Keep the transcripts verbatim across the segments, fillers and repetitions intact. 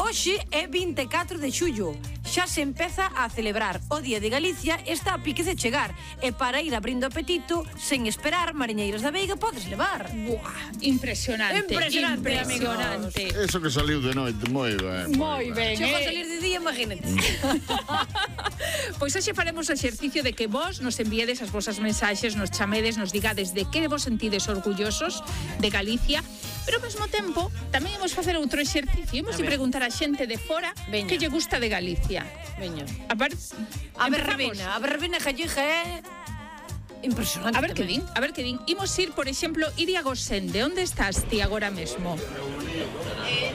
Hoxe é vinte e catro de xullo. Xa se empeza a celebrar o Día de Galicia, está a piques de chegar. E para ir abrindo apetito, sen esperar, mariñeiras da Veiga podes levar. Buah, impresionante. Impresionante, impresionante. Eso que saliu de noite, moi ben. Moi ben, Se for eh? salir de día, imagínate. Pois hoxe faremos o exercicio de que vos nos enviedes as vosas mensaxes, nos chamedes, nos digades de que vos sentides orgullosos de Galicia, pero ao mesmo tempo tamén imos facer outro exercicio, imos de preguntar a xente de fora Veña. que lle gusta de Galicia. Veña. A, par... A Empezamos. verbena, a verbena gallega é impresionante. A ver que tamén. din, a ver que din. Imos ir, por exemplo, Iria Gosende. Onde estás ti agora mesmo?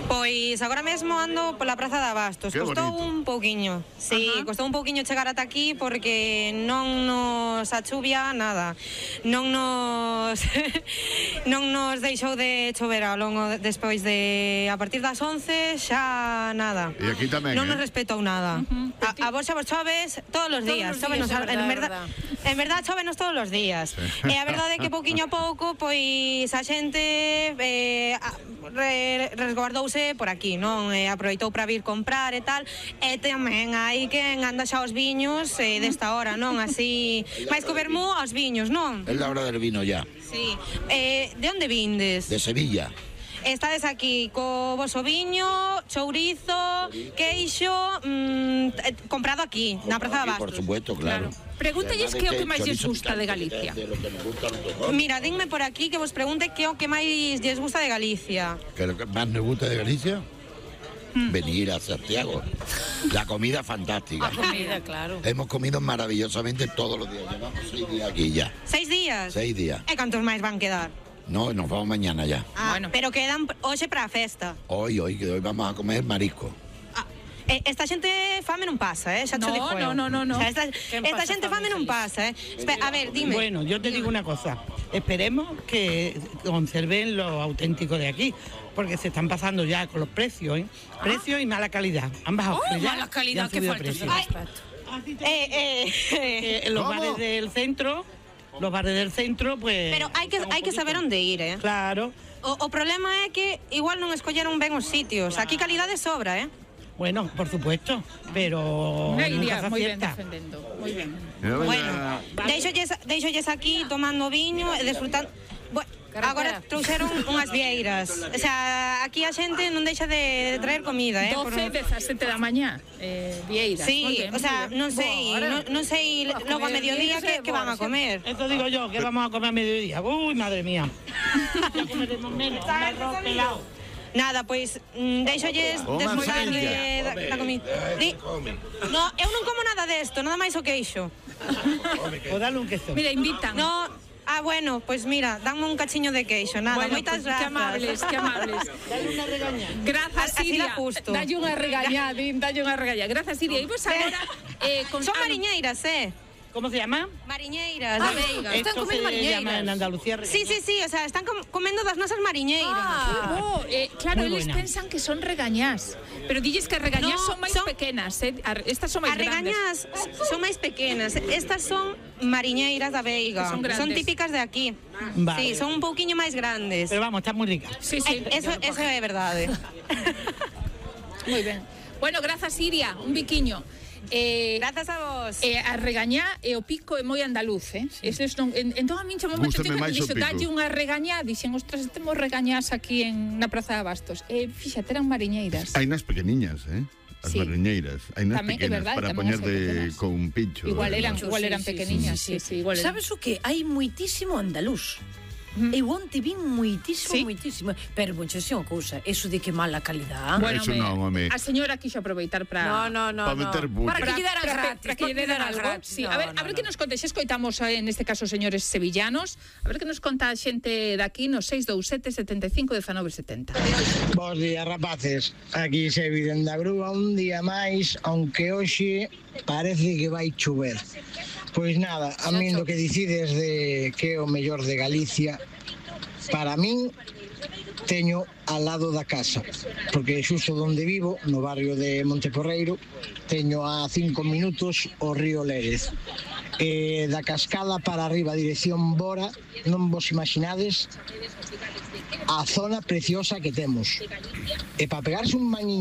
Pois agora mesmo ando pola Praza de Abastos. Qué Costou bonito. un pouquiño. Sí, Ajá. costou un pouquiño chegar ata aquí porque non nos a chuvia nada. Non nos non nos deixou de chover ao longo de- despois de a partir das once xa nada. E aquí tamén, Non eh? nos respetou nada. Uh-huh. A, a vos xa vos choves todos os Todos días. os Chóvenos, días, é en verdad, verdad, é en verdad chóvenos todos os días. E a verdade é que pouquiño a pouco pois a xente eh, a- re, resguardouse por aquí, non? E aproveitou para vir comprar e tal. E tamén hai quen anda xa aos viños eh, desta hora, non? Así, máis que o vermú aos viños, non? Es la hora del vino ya, Sí. Eh, de onde vindes? de Sevilla. Estades aquí co voso viño, chourizo, queixo, mm, eh, comprado aquí, na Praza de Aquí, por Abastos. supuesto, claro. Pregúntelles que é o que máis lles gusta de Galicia. De lo que nos gusta a los dos. Mira, dinme por aquí que vos pregunte que é o que máis lles gusta de Galicia. ¿Qué es lo que más nos gusta de Galicia? Venir a Santiago. La comida fantástica. A comida, claro. Hemos comido maravillosamente todos los días. Llevamos seis días aquí ya. Seis días? Seis días. E cantos máis van quedar? No, nos vamos mañana ya. Ah, Bueno. pero quedan hoxe para a festa. Hoy, hoy, que hoy vamos a comer marisco. Ah, eh, esta xente fame non pasa, eh? Xa te No, digo eu. no, no, no, no. O sea, esta, Quen esta pasa xente fame fame non feliz? pasa, eh? Espe- a ver, dime. Bueno, yo te digo una cosa. Esperemos que conserven lo auténtico de aquí, porque se están pasando ya con los precios, ¿eh? Precios y mala calidad. Han bajado Oh, calidad mala y calidad, han que subido falta de precios. respeto. Eh, eh, eh. Eh, en los ¿Cómo? bares del centro, los bares del centro, pues... Pero hai que, están un hai que saber poquito- onde ir, eh? Claro. O, o problema é que igual non escolleron ben os sitios. Aquí calidade sobra, eh? Bueno, por supuesto, pero Unha nunca Iria se moi ben acierta. defendendo. Moi ben. Mira, Bueno, veña. deixolles, deixolles aquí tomando viño e disfrutando. Bueno, Carretera. agora trouxeron unhas vieiras. O sea, aquí a xente non deixa de traer comida, eh? Por- doce, dezasete da mañá, eh, Vieiras. Sí, Moi ben, o sea, moi ben. non sei, Bora. non, non sei Bora, logo a comer mediodía vieiras que, e que van a bora, comer. Eso digo yo, que vamos a comer a mediodía. Uy, madre mía. Ya comeremos menos, un arroz pelado. Nada, pois mm, deixolles Toma, desfrutar de, Ciencia. da, da comida. Di, no, eu non como nada desto, nada máis o queixo. O dale un queso. Mira, invitan. No, ah, bueno, pois mira, danme un cachiño de queixo, nada, Bueno, moitas pues, grazas. que amables, que amables. Grazas, Así Iria. dá gusto. Dalle unha regañá, din, dalle unha regañá. Grazas, Iria. E vos agora... Eh, con... Son ah, no. mariñeiras, eh? ¿Cómo se llama? Mariñeiras, Ah, da Veiga. están Esto comiendo se llama mariñeiras. en Andalucía. Sí, sí, sí, o sea, están com comendo das nosas mariñeiras. Ah, Oh, eh, claro, Muy eles buena. pensan que son regañás. Pero dilles que as regañás No, son máis son- pequenas, eh? Ar- Estas son máis As grandes. regañas son máis pequenas. Estas son mariñeiras da Veiga. Que son grandes. típicas de aquí. Vale. Sí, son un pouquiño máis grandes. Pero vamos, está muy rica. Sí, sí. Eh, eso, eso é verdade. Moi ben. Bueno, grazas, Iria. Un biquiño. Eh, Grazas a vos. Eh, a regañá e o pico é moi andaluz, eh? Eses non, en, entón a min chamou moito Gústame atención máis que o dixo, pico. dalle unha regañá, dixen, ostras, temos regañás aquí en na Praza de Abastos. E eh, fíxate, eran mariñeiras. Hai nas pequeniñas, eh? As Sí. mariñeiras. Hai nas Tamén, é pequenas verdade, para tamén poñer as hai de pequenas. con un pincho. Igual eran, además. igual eran Sí, sí, pequeniñas, sí, sí, sí. sí, igual eran. Sabes o que? Hai moitísimo andaluz. Eu onte vin moitísimo, Sí? moitísimo. Pero, bon, xa sei unha cousa, eso de que mala calidad. Bueno, Eso me- non, home. a señora quixo aproveitar para No, no, no. Pa no. meter buche. Para que lle deran para, gratis. para que lle deran algo. gratis. Sí, No, a ver, no, a ver no. que nos conte, xa escoitamos eh, neste caso señores sevillanos, a ver que nos conta a xente daqui no seis dous sete, setenta e cinco, dezanove setenta. Bos días, rapaces. Aquí se viden da grúa un día máis, aunque hoxe parece que vai chover. Pois nada, a min do que dicides de que é o mellor de Galicia, para min teño al lado da casa, porque xusto onde vivo, no barrio de Monteporreiro, teño a cinco minutos o río Lérez. E da Cascada para arriba, dirección Bora, non vos imaginades a zona preciosa que temos. E para pegarse un bañiño